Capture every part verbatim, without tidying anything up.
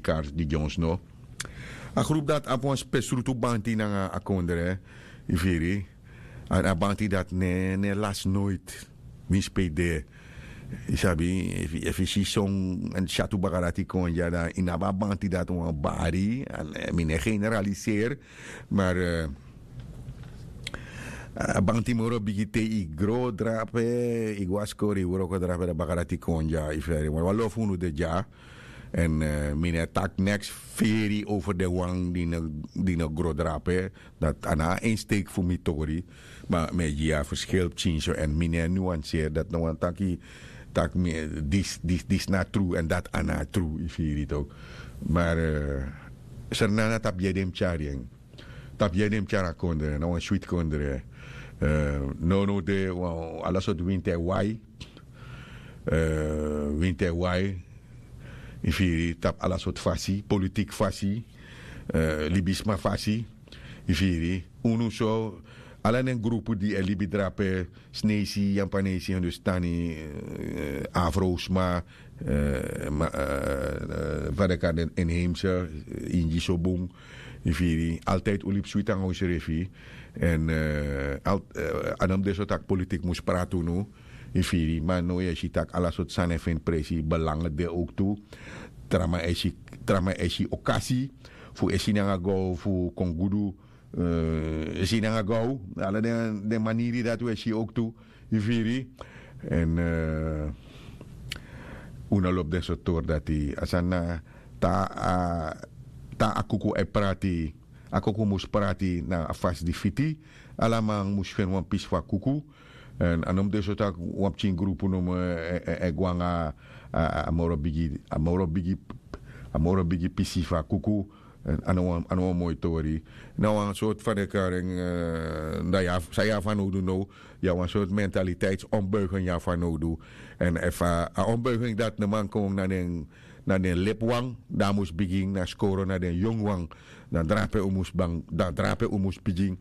kars di dyonsno. A grupu dati abi wan spesrutu banti nanga a kondre, yu firi. A banti dati no e lasi noiti. Winsi pe yu de, yu sabi, efu yu si son syatu baka dati kon dya dan yu no abi a banti dati wan bari. Mi no e generaliseri, mar a banti moro bigi te yu gro drape, yu go na skori yu wroko drape dan baka dati kon dya yu firi wan lo fu unu de dya. Èn mi no e taki neks feri over den wan di no gro drape. Dati a no a ensteiki fu mi tori. Ma mi e gi yu a ferskil pikinso èn mi no e nuanseri dati no wani taki, taki mi disi na tru èn dati a no a tru yu firi yu toki. Mar sernana tapu yede mus tyari en. Tapu yede mus tyari a kondre na wan switi kondre. Nownow de wan ala sortu winti e wai. Winti e wai, yu firi, tapu ala sortu fasi, politiki fasi, libisma fasi, yu firi. Unu so ala den grupu di e libi drape, sneisi yampanesi hindustani, afrosma, fa den kari den inheimse, ingi so bun, yu firi, altijdi un libi switi nanga unsrefi. Èn a no mus de so tak' politiki mus prati unu, yu firi. Ma now yu e si tak' ala sortu sani e feni presi, belangen de owktu. Tra man e si, tra man e si okasi fu e si nanga go fu kon gudu, e si nanga go ala den maniri dati un e si owktu, yu firi. Èn un no lobi den sortu tori dati a sani na, te a kuku e prati, a kuku mus prati na a fasi di fiti. Ala man mus feni wan pisi fu a kuku. Èn a no mus de so tak' wan pikin grupu nomo e go nanga a moro bigi, a moro bigi, a moro bigi pisi fu a kuku. A no wan moi tori. Na wan sortu fan de karing, dan yu abi san yu abi fanowdu now. Yu abi wan sortu mentaliteiti onbuiging yu abi fanowdu. Èn efu a onbuiging dati no man kon na den na den lepi wan, dan a mus bigin na skoro na den yongu wan. Dan drape un mus bang, dan drape un mus bigin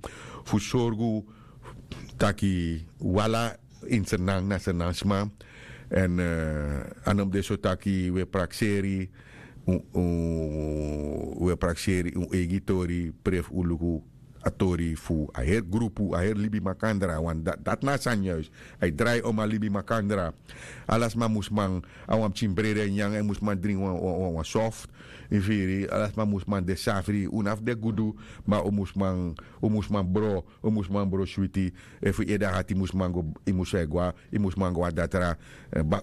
fu sorgu taki wala ini sernan na sernan sma. Èn a no mus de so taki un e prakseri, un e prakseri un eigi tori, prefu un luku a tori fu a heri grupu, a heri libi makandra. Dati na a sani yuis. A e drai om a libi makandra. Ala sma mus man a wan pikin brede nyan, a e mus man dringi wan soft. Yu firi? Ala sma mus man de safri, un no abi de gudu. Ma un mus man, un mus man bro, un mus man bro switi. Efu yu ede a hati mus man go, yu mus e gwa, yu mus man go a datra.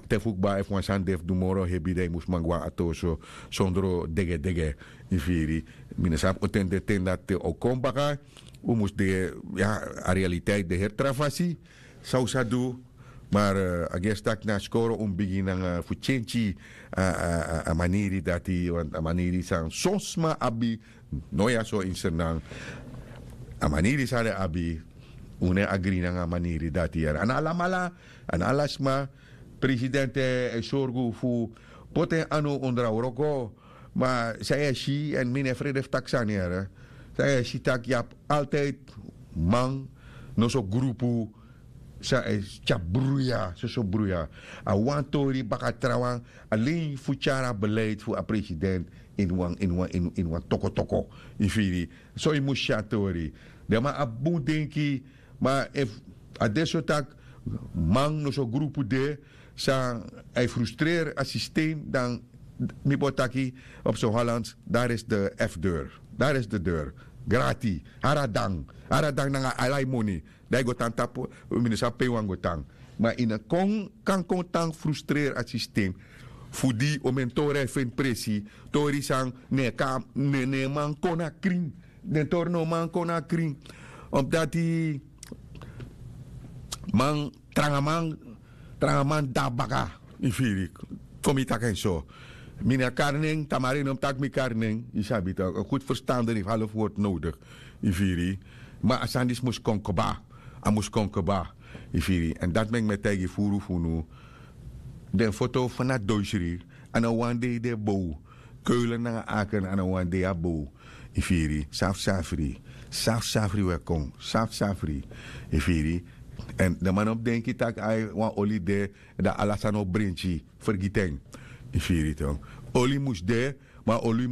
Te fu kba efu wan sani de fu du moro hebi dan yu mus man go a atoso sondro degedege. Yu firi? Mi no sabi o ten de ten dati o kon baka. Un mus de, ya, a realiteit de heri tra fasi. San un sa du? Mar a gesi tak' na skoro un bigin nanga fu tyentyi a maniri dati. Want a maniri san son sma abi, no ya so ini sernan, a maniri san den abi, un no e agri nanga a maniri dati yara. A no alamala, a no ala sma. Presidenti e sorgu fu poti en anu ondro a wroko. Ma san yu e si, èn mi no e frede fu taki sani yara, san yu e si tak' yu abi altijdi man noso grupu san e tyari bruya, soso bruya. A wan tori baka trawan, alen fu tyari a beleid fu a presidenti ini wan ini wan ini wan tokotoko. Yu firi? So yu mus si a tori. Den man abi bun denki. Ma efu a de so tak' man noso grupu de san a e frustreri a sistem, dan mi bo taki op so hollands, dari esi de efdeur, dari esi de deur. Grati. Hari a dan, hari a dan nanga ala yu moni. Dan yu go tan tapu, mi no sabi pe yu wani go tan. Ma yu no kon kan kon tan frustreri a sistem fu di omen tori a e feni presi. Tori san no e man kon na krin. Den tori no man kon na krin. Omdati man, tranga man, tranga man de na baka. Yu firi? Kon mi taki en so. Mi no e kari nen, tamari no mus taki mi kari nen. Yu sabi tak' a gudu ferstanderik half wortu nodigi. Yu firi? Ma a sani disi mus kon kba. A mus kon kba. Yu firi? Èn dati meki mi e taigi furu fu unu, den foto fu na doisri, a no wan dei den bow. Keulen nanga aken a no wan dei a bow. Yu firi? Safsafri. Safsafri un e kon, safsafri. Yu firi? Èn den man no mus denki tak' ai wan oli de, dan ala sani o brenki. Fergiti en. Yu firi? Oli mus de, ma oli